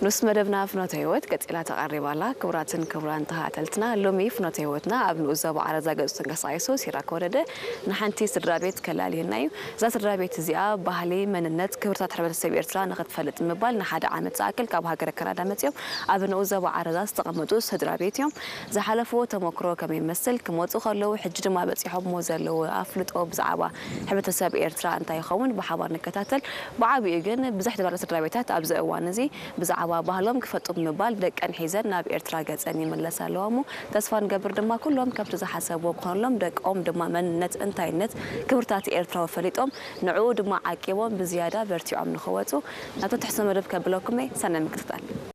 ንኡስ መደብና ፍኖተ ህይወት ቀጺላ ተቐሪባላ። ክቡራትን ክቡራን ተኸታተልትና፣ ሎሚ ፍኖተ ህይወትና ኣብ ንኡስ ዞባ ዓረዛ ገጹ ተንቀሳቒሱ ሲራክ ወረደ ንሓንቲ ስድራ ቤት ከላልየና እዩ። እዛ ስድራ ቤት እዚኣ ባህሊ፣ መንነት፣ ክብርታት ሕብረተሰብ ኤርትራ ንኽትፈልጥ ምባል ንሓደ ዓመት ዝኣክል ካብ ሃገረ ካናዳ መጺኦም ኣብ ንኡስ ዞባ ዓረዛ ዝተቐመጡ ስድራ ቤት እዮም። ዝሓለፍዎ ተመክሮ ከመይ ይመስል፣ ክመጹ ከለዉ፣ ሕጂ ድማ በጺሖሞ ዘለዉ ኣፍልጦ ብዛዕባ ሕብረተሰብ ኤርትራ እንታይ ይኸውን ብሓባር ንከታተል። ብዓቢኡ ግን ብዝሕ ዝበላ ስድራ ቤታት ኣብዚ እዋን እዚ ብዛዕባ ባህሎም ክፈልጡ ብምባል ደቀን ሒዘን ናብ ኤርትራ ገጸን ይምለሳ ኣለዋ እሞ፣ ተስፋ ንገብር ድማ ኩሎም ከምቲ ዝሓሰብዎ ክኾነሎም፣ ደቆም ድማ መንነት፣ እንታይነት፣ ክብርታት ኤርትራዊ ፈሊጦም ንዕኡ ድማ ዓቂቦም ብዝያዳ በርቲዖም ንኽወጹ ናብቲ ትሕዝቶ መደብ ከብለኩም እየ። ሰናይ ምክትታል።